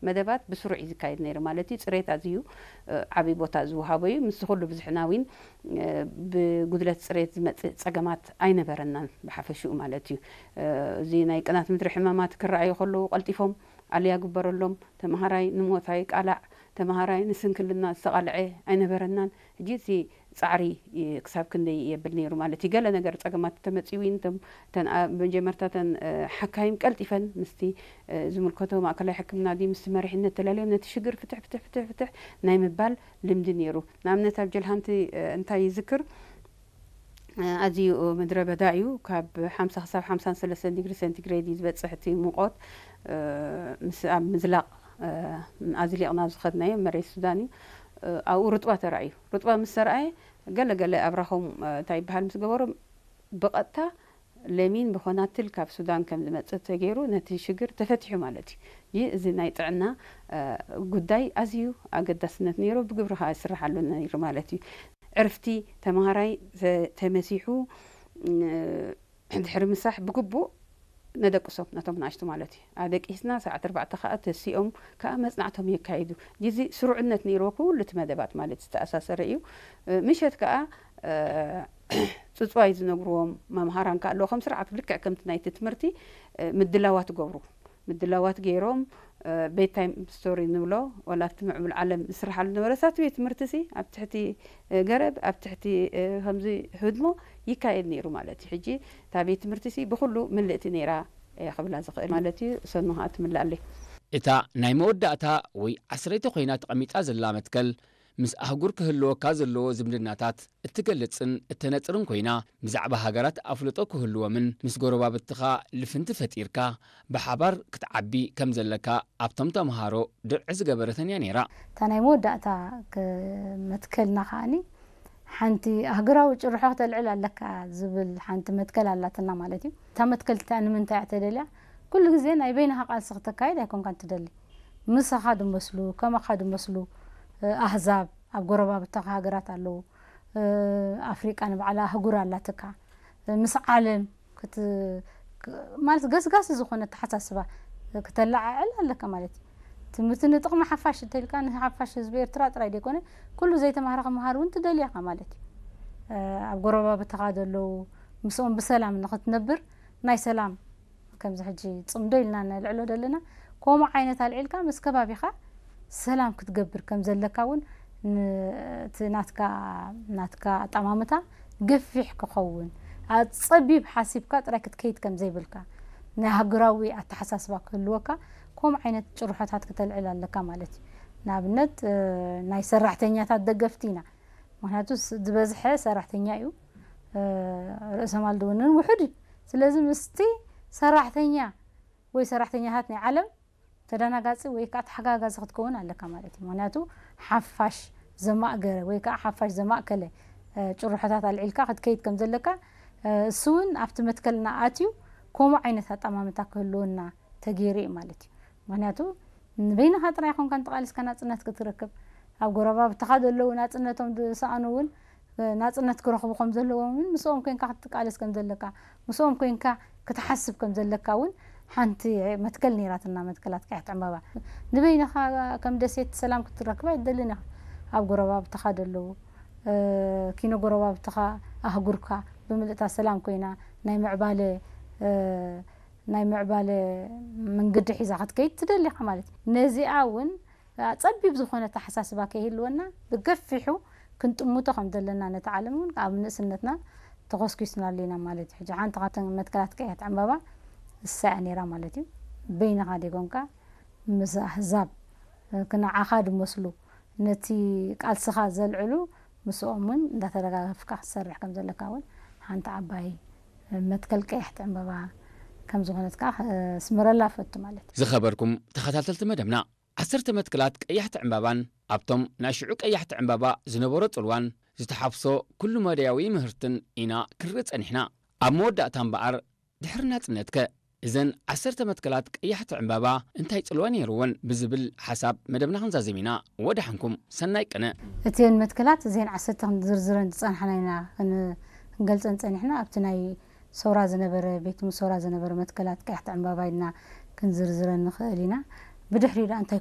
መደባት ብስሩዕ እዩ ዝካየድ ነይሩ ማለት እዩ። ጽሬት ኣዝዩ ዓብዪ ቦታ ዝወሃቦ እዩ። ምስ ኩሉ ብዝሕና እውን ብጉድለት ጽሬት ዝመጽእ ጸገማት ኣይነበረናን ብሓፈሽኡ ማለት እዩ። እዚ ናይ ቅናት ምድሪ ሕማማት ክረኣዩ ከለዉ ቀልጢፎም ኣልያ ግበረሎም። ተምሃራይ ንሞት ኣይቃላዕ፣ ተምሃራይ ንስንክልና ዝተቓልዐ ኣይነበረናን። ሕጂ እቲ ጻዕሪ ክሳብ ክንደይ የብል ነይሩ ማለት እዩ። ገለ ነገር ጸገማት ተመጺኡ እውን እቶም ተን መጀመርታ ተን ሓካይም ቀልጢፈን ምስቲ ዝምልከቶ ማእከላይ ሕክምና ድዩ ምስቲ መሪሕነት ተላልዮም ነቲ ሽግር ፍትሕ ፍትሕ ፍትሕ ፍትሕ ናይ ምባል ልምዲ ነይሩ። ንኣብነት ኣብ ጀልሃንቲ እንታይ ይዝክር? ኣዝዩ ምድረ በዳ እዩ። ካብ ሓምሳ ክሳብ ሓምሳን ሰለስተን ዲግሪ ሴንቲግሬድ እዩ ዝበጽሕ እቲ ሙቐት። ምስ ኣብ ምዝላቕ ኣዝሊቕና ዝኸድናዮ መሬት ሱዳን እዩ። ኣብኡ ርጥባ ተራእዩ። ርጥባ ምስ ተራእየ ገለ ገለ ኣብራኾም እንታይ ይበሃል ምስ ገበሩ ብቐጥታ ለሚን ብኾናትል ካብ ሱዳን ከም ዝመጽእ ተገይሩ ነቲ ሽግር ተፈቲሑ ማለት እዩ። ይህ እዚ ናይ ጥዕና ጉዳይ ኣዝዩ ኣገዳስነት ነይሩ፣ ብግብሪ ከዓ ይስራሓሉ ነይሩ ማለት እዩ። ዕርፍቲ ተምሃራይ ተመሲሑ ድሕሪ ምሳሕ ብግቡእ ነደቅሶም ነቶም ንኣሽቱ ማለት እዩ። ኣደቂስና ሰዓት ኣርባዕተ ከዓ ተሲኦም ከዓ መጽናዕቶም የካይዱ። እዚ ስሩዕነት ነይርዎ ኩሉ እቲ መደባት ማለት ዝተኣሳሰረ እዩ። ምሸት ከዓ ጽጽዋይ ዝነግርዎም መምሃራን ከዓ ኣለዉ። ከም ስርዓት ልክዕ ከምቲ ናይቲ ትምህርቲ ምድላዋት ገብሩ ምድላዋት ገይሮም ቤት ታይም ስቶሪ ንብሎ ወላ ኣብቲ ምዕቡል ዓለም ዝስርሓሉ ነበረ። ሳት ቤት ትምህርቲ ሲ ኣብ ትሕቲ ገረብ ኣብ ትሕቲ ከምዚ ህድሞ ይካየድ ነይሩ ማለት እዩ። ሕጂ እታ ቤት ትምህርቲ ሲ ብኩሉ ምልእቲ ነይራ እየ ክብላ ዝኽእል ማለት እዩ። ሰኑ ከዓ ትምልኣለይ። እታ ናይ መወዳእታ ወይ ዓስረይቲ ኮይና ተቐሚጣ ዘላ መትከል ምስ ኣህጉር ክህልወካ ዘለዎ ዝምድናታት እትገልጽን እተነጽርን ኮይና፣ ብዛዕባ ሃገራት ኣፍልጦ ክህልዎምን ምስ ጎረባብትኻ ልፍንቲ ፈጢርካ ብሓባር ክትዓቢ ከም ዘለካ ኣብቶም ተምሃሮ ድርዒ ዝገበረተን እያ ነይራ። እታ ናይ መወዳእታ መትከልና ከኣኒ ሓንቲ ኣህጉራዊ ጭርሖ ክተልዕል ኣለካ ዝብል ሓንቲ መትከል ኣላትና ማለት እዩ። እታ መትከል እቲኣ ንምንታይ እያ ተደልያ? ኩሉ ግዜ ናይ በይንኻ ቃልሲ ክተካይድ ኣይኮንካን ትደሊ። ምሳኻ ድመስሉ፣ ከማኻ ድመስሉ ኣህዛብ ኣብ ጎረባብትኻ ሃገራት ኣለዉ። ኣፍሪቃ ንባዕላ ኣህጉር ኣላትካ። ምስ ዓለም ማለት ገስጋሲ ዝኾነ ኣተሓሳስባ ክተለዓዕል ኣለካ ማለት እዩ። ትምህርቲ ንጥቕሚ ሓፋሽ እንተኢልካ ንሓፋሽ ህዝቢ ኤርትራ ጥራይ ዘይኮነ ኩሉ ዘይተማህረ ክመሃር እውን ትደልያካ ማለት እዩ። ኣብ ጎረባብትኻ ዘለዉ ምስኦም ብሰላም ንኽትነብር ናይ ሰላም ከምዚ ሕጂ ጽምዶ ኢልና ነልዕሎ ዘለና ከምኡ ዓይነት ኣልዒልካ ምስ ከባቢኻ ሰላም ክትገብር ከም ዘለካ እውን እቲ ናትካ ናትካ ኣጠማምታ ገፊሕ ክኸውን ጸቢብ ሓሲብካ ጥራይ ክትከይድ ከም ዘይብልካ ናይ ሃገራዊ ኣተሓሳስባ ክህልወካ ከምኡ ዓይነት ጭርሖታት ክተልዕል ኣለካ ማለት እዩ። ንኣብነት ናይ ሰራሕተኛታት ደገፍቲ ኢና። ምክንያቱ ዝበዝሐ ሰራሕተኛ እዩ። ርእሰ ማል ድውንን ውሑድ እዩ። ስለዚ ምስቲ ሰራሕተኛ ወይ ሰራሕተኛታት ናይ ዓለም ተደናጋፂ ወይ ከዓ ተሓጋጋዚ ክትከውን ኣለካ ማለት እዩ። ምክንያቱ ሓፋሽ ዘማእገረ ወይ ከዓ ሓፋሽ ዘማእከለ ጭርሖታት ኣልዒልካ ክትከይድ ከም ዘለካ እሱ እውን ኣብቲ መትከልና ኣትዩ ከምኡ ዓይነት ኣጠማምታ ክህልወና ተገይሩ እዩ ማለት እዩ። ምክንያቱ ንበይንኻ ጥራይ ኮንካ እንተቃሊስካ ናፅነት ክትረክብ ኣብ ጎረባብትኻ ዘለዉ ናፅነቶም ዝሰኣኑ እውን ናፅነት ክረኽቡ ከም ዘለዎም እውን ምስኦም ኮንካ ክትቃለስ ከም ዘለካ ምስኦም ኮንካ ክትሓስብ ከም ዘለካ እውን ሓንቲ መትከል ነይራትና መትከላት ቀያሕቲ ዕምባባ ንበይንኻ ከም ደሴት ሰላም ክትረክብ ኣይትደልን ኢኻ ኣብ ጎረባብትኻ ዘለዉ ኪኖ ጎረባብትኻ ኣህጉርካ ብምልእታ ሰላም ኮይና ናይ ምዕባለ ናይ ምዕባለ መንገዲ ሒዛ ክትከይድ ትደሊ ኢኻ ማለት እዩ። ነዚኣ እውን ጸቢብ ዝኾነ ኣተሓሳስባ ከይህልወና ብገፊሑ ክንጥምቶ ከም ዘለና ነቲ ዓለም እውን ኣብ ንእስነትና ተኾስኲስናሉ ኢና ማለት እዩ። ሕጂ ሓንቲ ካብተን መትከላት ቀያሕቲ ዕምባባ እሳ እያ ነይራ ማለት እዩ። በይንኻ ደይኮንካ ምስ ኣህዛብ ንዓኻ ዝመስሉ ነቲ ቃልስኻ ዘልዕሉ ምስኦም እውን እንዳተደጋገፍካ ክትሰርሕ ከም ዘለካ እውን ሓንቲ ዓባይ መትከል ቀያሕቲ ዕምበባ ከም ዝኾነት ከዓ ስምረላ ፈቱ ማለት እዩ። ዝኸበርኩም ተኸታተልቲ መደብና ዓሰርተ መትከላት ቀያሕቲ ዕምባባን ኣብቶም ናይ ሽዑ ቀያሕቲ ዕምባባ ዝነበሮ ጽልዋን ዝተሓፍሶ ኩሉ መዳያዊ ምህርትን ኢና ክንርኢ ጸኒሕና። ኣብ መወዳእታ እምበኣር ድሕሪ ናጽነትከ እዘን ዓሰርተ መትከላት ቀያሕቲ ዕምባባ እንታይ ጽልዋ ነይርወን ብዝብል ሓሳብ መደብና ክንዛዘም ኢና። ወደሓንኩም ሰናይ ቅነ። እተን መትከላት እዘን ዓሰርተ ክንዝርዝረን ዝጸናሕና ኢና ክንገልጸን ጸኒሕና ኣብቲ ናይ ሰውራ ዝነበረ ቤት ምሶራ ዝነበረ መትከላት ቀያሕቲ ዕምባባ ኢልና ክንዝርዝረን ንኽእል ኢና። ብድሕሪኡ ደኣ እንታይ